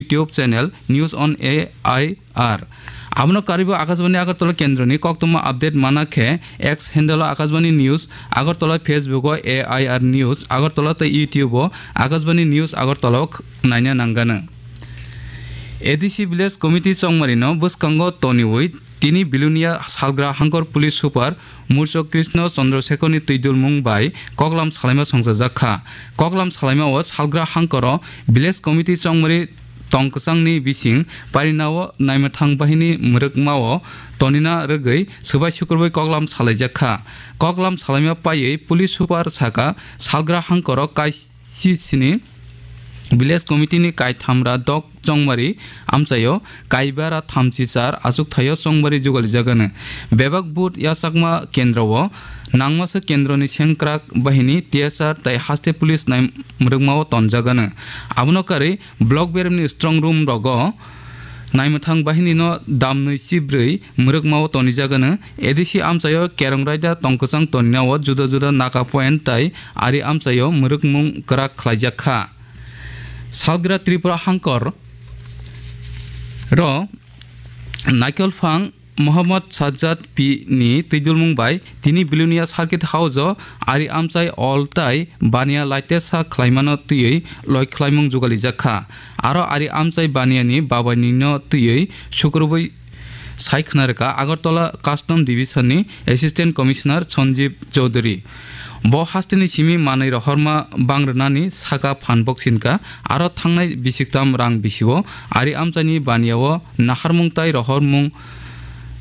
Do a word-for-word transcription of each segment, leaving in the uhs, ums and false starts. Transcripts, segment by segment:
YouTube channel News on A I R. Abono karwibo Akashbani Agartala kendroni koktwma update mana khe X handle o Akashbani News Agartala, Facebook o A I R News Agartala tei YouTube o Akashbani News Agartala o naina nanggano. A D C Village Committee chongmarino bwskango toniwi tini Bilonia salgra hangkor Police Super Murchok Krishna Chandra Sekharni twidulmung bai koklam salaima songchajak kha. Koklam salaima o salgra hangkoro Village Committee chongmari tongkwchangni bising parinao naimwthang bahini mwrwkmao tonina rwgwi swbai sukurbai koklam salaijak kha. Koklam salaima paiwi Police Super saka salgra hangkoro kaisi sini Village Committee ni kaithamra dok chongmari amchaio kaibara thamchi char achukthai o chongmari jugalijagano. Bebak vote yachakma kendro o nangmasa kendroni sengkrak bahini T S R tei haste police nai mwrwkmao tonjagano. Abono karwi block beremni strong room rogo naimwthang bahinino damnwi chibrwi mwrwkmao tonijagano. A D C amchaio kerong raida tongkwchang toninao juda juda naka point tei ari amchaio mwrwkmung kwrak khlaijak kha. Salgra Tripura hangkor ro Naikolphang Mohammad Sajjad P ni twidulmung bai tini Bilonia Circuit House o ari amchai ol tai baniya laitesa khlaimano twiwi loi khlaimung jugalijak kha. Aro ari amchai baniyani babainino twiwi sukurubui sai khna rwkha Agartala Custom Division ni Assistant Commissioner Sanjeev Chowdhury. Bo hasteni simi manwi rohorma bang rwnani saka phan boksinka, aro thangnai bisiktam rang bisio ari amchaini baniao naharmung tai rohormung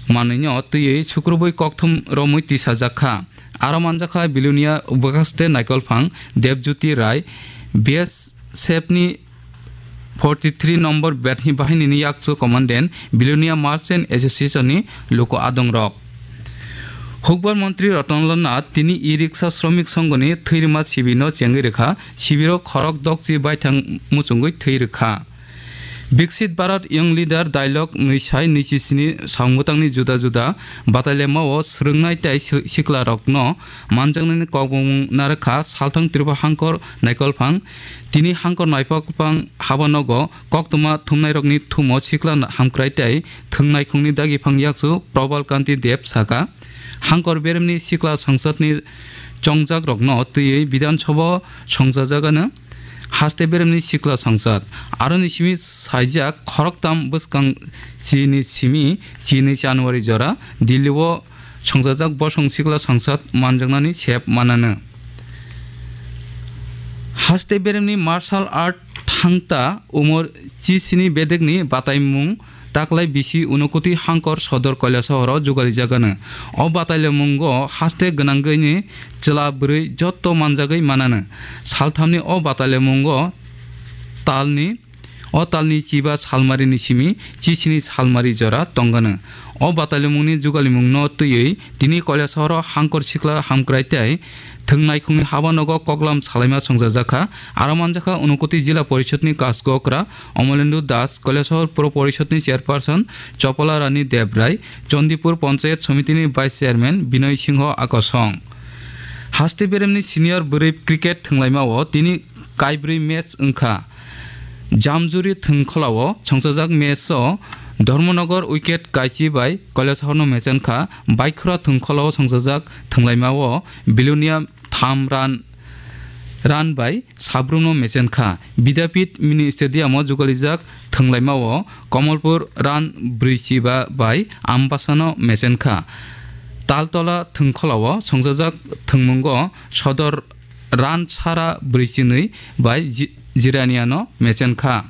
manwino twiwi sukrubui kokthum romwi tisajak kha. Aro manjakha Bilonia Bwkhaste Naikolphang Debjyoti Rai, B S F ni forty three number Bethni Bahinini yakchu commandant, Bilonia Merchant Association ni luku adongrok. Hukbar montri Ratanlal Nath tini e-rickshaw shromik songhoni thwirima sibino chengwi rwkha, sibiro khorok dokchi baithang muchungwi thwi rwkha. Viksit Bharat Young Leader Dialogue nwi sai nwi chi sini samungtangni juda juda batailema o swrwngnai tei si-, siklarokno manjaknani kokbomung narwkha salthang Tripura hangkor Naikolphang. Tini hangkor Naikolphang habanogo koktwma thumnairokni thumo sikla hamkrai tei thwngnaikhungni dagiphang yakchu Probal Kanti Deb saka, hangkor beremni sikla songsadni chongjakrokno twiwi Bidhan Sabha o songchajagano haste beremni sikla songsad. Aroni simi saijak khoroktham bwskang chini simi chini January jora Delhi o songchajak bosong sikla songsad manjaknani sep manano. Haste beremni martial art thangta umor chisini bedekni bataimung taklai bisi Unakoti hangkor sodor Kailasahar o jugarijagano. O batailemungo haste gwnangwini chwla bwrwi jotto manjagwi manano. Salthamni o batailemungo talni, o talni chiba salmarini simi chisini salmari jora tongano. O batailemungni jugalimungno twiwi tini Kailasahar o hangkor sikla hamkrai tei thwngnaikhungni habanogo koklam salaima songchajakha. Aro manjakha Unakoti Jila Porishod ni Kasgo okra Omolendu Das, Kailasahar Puro Porishod ni Chairperson Chopala Rani Debrai, Chandipur Panchayat Somiti ni Vice Chairman Binoy Singho Akosong. Haste beremni senior bwrwi cricket thwnglaima o tini kaibrwi match wngkha. Jamjuri thwngkhola o songchajak match o Dharmanagar wicket kaichi bai Kailasahar no mechen kha. Baikhura thwngkhola o songchajak thwnglaima o Bilonia tham run, run bai sabrumno mechen kha. Bidapit mini stadium o jugalijak thwnglaima o Kamalpur run brwichiba bai Ambasano mechen kha. Taltola thwngkhola o songchajak thwngmungo Sodor run sara brwichinwi bai Ji-, Jiraniano mechen kha.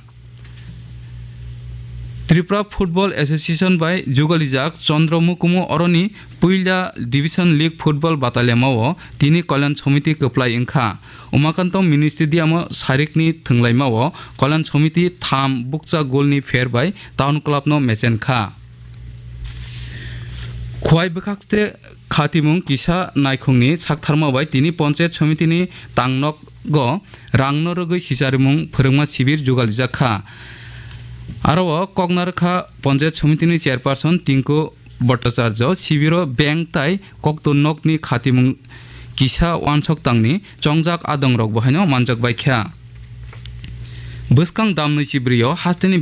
Tripura Football Association bai jugalijak Chandra Mukumu oroni puila Division League Football bataliamao tini Kalyan Somiti kwplai wngkha. Umakanto Mini Stadium o sarikni thwnglaimao Kalyan Somiti tham bukcha golni pher bai Town Club no mechen kha. Khwai bwkhakste khatimung kisa naikhungni saktharma bai tini Panchayat Somitini tangnok go rangno rwgwi sicharimung phwrwngma sibir jugalijak kha. Aro o koknarwkha Panchayat Somitini Chairperson Tinku Bhattacharya, sibiro bank tai kokto nokni khatimung kisa uansok tangni chongjak adongrok bo haino manjak bai kha. Bwskang damnwi chibrwi o hasteni